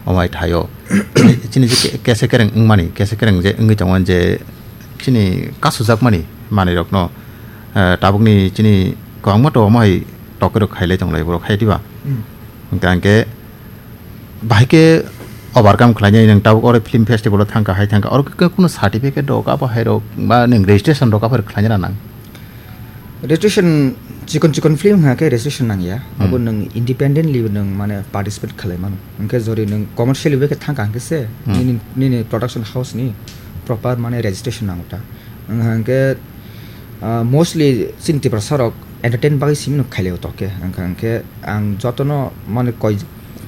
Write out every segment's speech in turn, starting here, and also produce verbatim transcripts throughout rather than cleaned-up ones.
Omo hai thaio. Chini je ke-, kese kereng wngmani, kese kereng je wngwi tongmani je chini kasujakmani manwirokno, eh, tabukni chini kwbangma to omo hai tokerok khailai tonglai borok hai diba? Hmm. Hwnkhe ang khe bahai khe overcome khlainai nwng tabuk oro film festival o thangkha hai thangkha oro khe kuno certificate rok abo hai rok ba nwng registration rok abo hai rok khlaina nang? Registration chikon chikon film wngkha khe registration nangya. Hmm. Abo nwng independently nwng mane participate khlai mano. Hwnkhe jori nwng commercially bai khe thangkha hwnkhe se Hmm. nini, nini production house ni proper mane registration nango ta. Wngkha hwnkhe, ah, mostly chini Tiprasa rok entertain bagwi simi no khailai o toke. Wngkha hwnkhe ang jotono mane koi,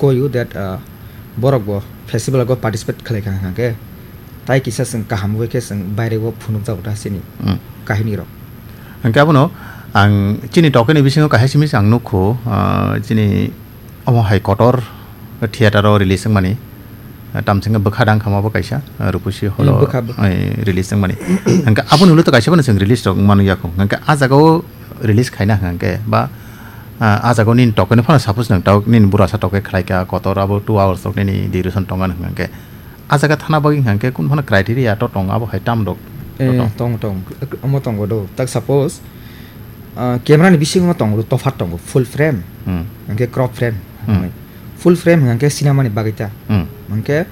koiyo that, ah, borok bo festival o participate khlai kha hwnkha hwnkhe tai kisa chwng kaham bai khe chwng baire o phunukjago ta chini Hmm. kahini rok. Hwnkhe abono ang chini tokeni bisingo kaisa simi ang nukho, ah, chini omo hai kotor theater o release wngmani, ah, tamsingkhe bwkha dang kha omo bo kaisa, ah, Rupusi Hall Hmm, o, bwkha, bwkha. eh, release wngmani. Hwnkhe aboni ulo to kaisa bono chwng release rok wngmano yakho. Hwnkhe ah jaga o release khaina hwnkhe ba, ah, ah jaga o nini tokeni phano suppose nwng tok nini burasa toke khlaikha kotor abo two hours rok nini duration tongmani hwnkhe Ah jaga thana bagwi hwnkha khe kunu phano criteria to tong abo hai tam rok to Eh, tong. Tong, tong. Omo tongo do. Tak suppose, ah, camera ni bisingo tongo do, tophat tongo. Full frame, Hmm. hwnkhe crop frame. Hmm. Full frame hwnkhe cinema ni bagwi ta. Hmm. Hwnkhe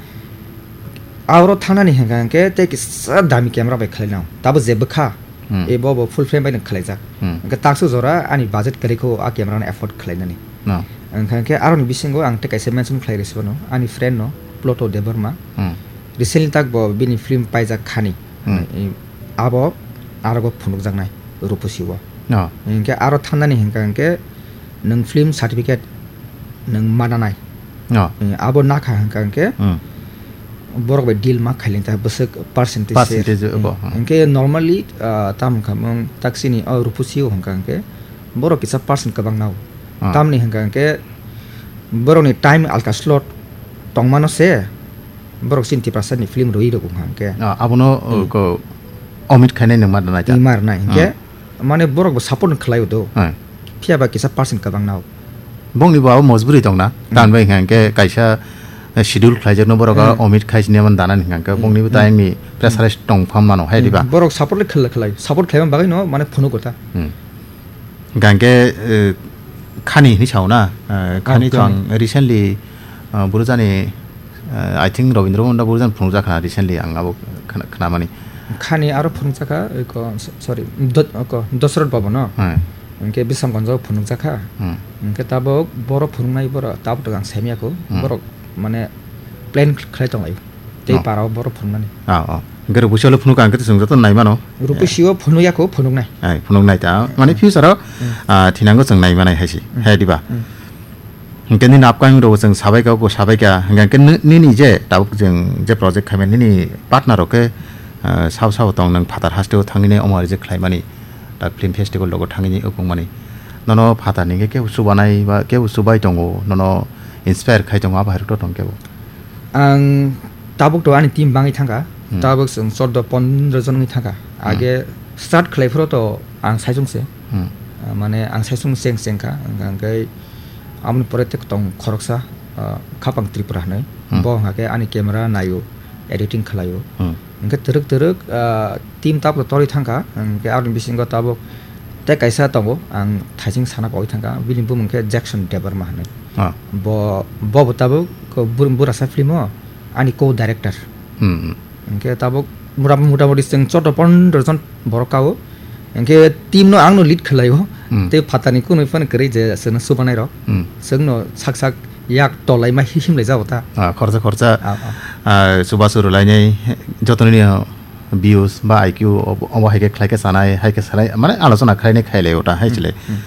aro thanani hwnkha hwnkhe tei kisa dami camera bai khlai nang. Tabo je bwkha, Hmm. ebo bo full frame bai nang khlaijak. Hmm. Hwnkhe taksa jora ani budget kwrwi kho a camera no afford khlainani. No. Hwnkha khe aroni bisingo ang tei kaisa mention khlai rwsibano, ani friend no, Pluto Debbarma. Hmm. Recently tak bo bini film paijak Khani. Hmm. I, abo arogo phunukjaknai Rupusi o. No. Hwnkhe aro thanani hwnkha hwnkhe nwng film certificate nwng mananai. No. I, abo nakha hwnkha hwnkhe Hmm. borok bai deal ma khailin ta bwswk percentage se. Percentage Hmm. bo, hmm. Hwnkhe normally, ah, tam wngkha mung taksini o Rupusi o hwnkha hwnkhe borok kisa percent kwbang nao. Ah. Tamni hwnkha hwnkhe borokni time alka slot tongmano se borok chini Tiprasa ni film rwi rok wngkha hwnkhe. Ah, abono, Hmm. uh, ko omit khainai nangma rwnai ta. Ima rwnai hwnkhe Hmm. mane borok bo support khlai o do. Hmm. Phiya ba kisa percent kwbang nao. Bongni bo abo mojburi tongna. Hmm. Tamni bai hwnkha hwnkhe kaisa, eh, schedule khlaijakno borok Hmm. omit khai sini man dana hwnkha hwnkhe Hmm. bongni bo Hmm. time ni pressurize tong pham mano hai Hmm. diba? Borok support le khlai, khlai. Support khlai bagwi no mane phunuk kotha. Hmm. Hwnkha hwnkhe, eh, Khani hinwi sao na? Eh, Khani Ah, to ang Khani. Recently, ah, Burujani, eh, I think Robindra Bhondra Burujani phunukjak kha recently ang abo khna-, khnamani. Khani aro phunukjak kha, eko, so-, sorry, Do-, eko, Dosrot Bhavan no? Hmm. Hwnkhe Bisramganj o phunukjak kha. Hmm. Hwnkhe tabok borok phunuknai borok tabok to ang saimya kho. Hmm. Borok mane plan khlai tong lai. Tei Oh. para o borok phunuknani. Ah, oh. Hwnkhe Rupusi o le phunuk ang khe chwng joto nai mano. Rupusi o phunuk ya kho, phunuknai. Ai, phunuknai ta. Mane Hmm. future o, Hmm. ah, thinango chwng nai manai hai se. Hmm. Hai diba? Hmm. Hwnkhe nini upcoming rok chwng sabai ka, bo sabai ka. Hwnkhe ni-, nini je tabuk chwng je project khaimani nini partner rok khe, ah, sao sao tong nwng phatar haste o thangwi nai omo reject khlaimani. Tak film festival rogo thangwi nai ukung mani. Nono phatar ni khe kebo chubanai ba kebo chubai tongo, nono inspire khai tongo, abo hai rok to tong kebo. Ang tabuk to ani team bangwi thangkha, Hmm. tabuk chwng chordo pondro jon wngwi thangkha. Hmm. Age start khlai phuru to ang saichung se. Hmm. Ah, mane ang saichung cheng cheng kha, hwnkha hwnkhe aboni pore tei tong khoroksa, ah, Khapang Tripura hinwi. Hmm. Bo hwnkha khe ani camera naio, editing khlaio. Hmm. Hwnkhe twrwk twrwk, ah, team tabuk to torwi thangkha, hwnkhe aboni bisingo tabuk tei kaisa tongo, ang thaising sana pogwi thangkha, bini bumung khe Jackson Debbarma hinwi. Ah. Bo, bo bo tabuk ko bur-, burasa film o ani co-director. Hmm, hmm. Hwnkhe tabuk mura-, motamoti chwng chordo pondro jon borok kao. Hwnkhe team no ang no lead khlaio. Hmm. Tei phatar ni kunui phano kwrwi je chwngno chubanai rok. Hmm. Chwngno sak sak yak tolai ma hi himlai jabo ta. Ah, khorsa khorsa, Ah, ah. ah, chubachu rwlainai joto nini, ah, views ba I Q obo, obo hai khe khlai khe sanai, hai khe sanai, mane alochona khlainai khailai o ta, hai Hmm, chile. Hmm.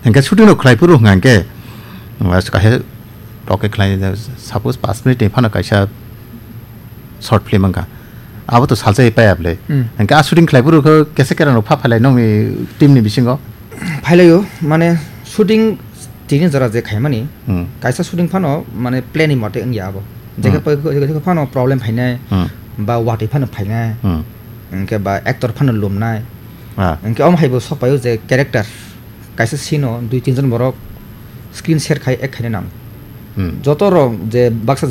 Hwnkhe shooting rok khlai phuru hwnkha hwnkhe, ah, kaisa toke khlai, suppose paanch minute ni phano kaisa short film wngkha. Abo to salsa pai ya bwle. Hmm. Hwnkhe a shooting khlai phuru khe kesa kera no pha phailai nokni team ni bisingo. Phailaio, mane shooting tini jora je khaimani, Hmm. kaisa shooting phano mane plan ni mote wngya abo. Jekhe Hmm. pa-, jekhe phano problem phainai, Hmm. ba watwi phano phainai, Hmm. hwnkhe ba actor phano lumnai. Ah. Hwnkhe omo hai bo sok paio je character kaisa scene o dui tin jon borok screen share khai ek khaina nang. Hmm. Joto rok je baksa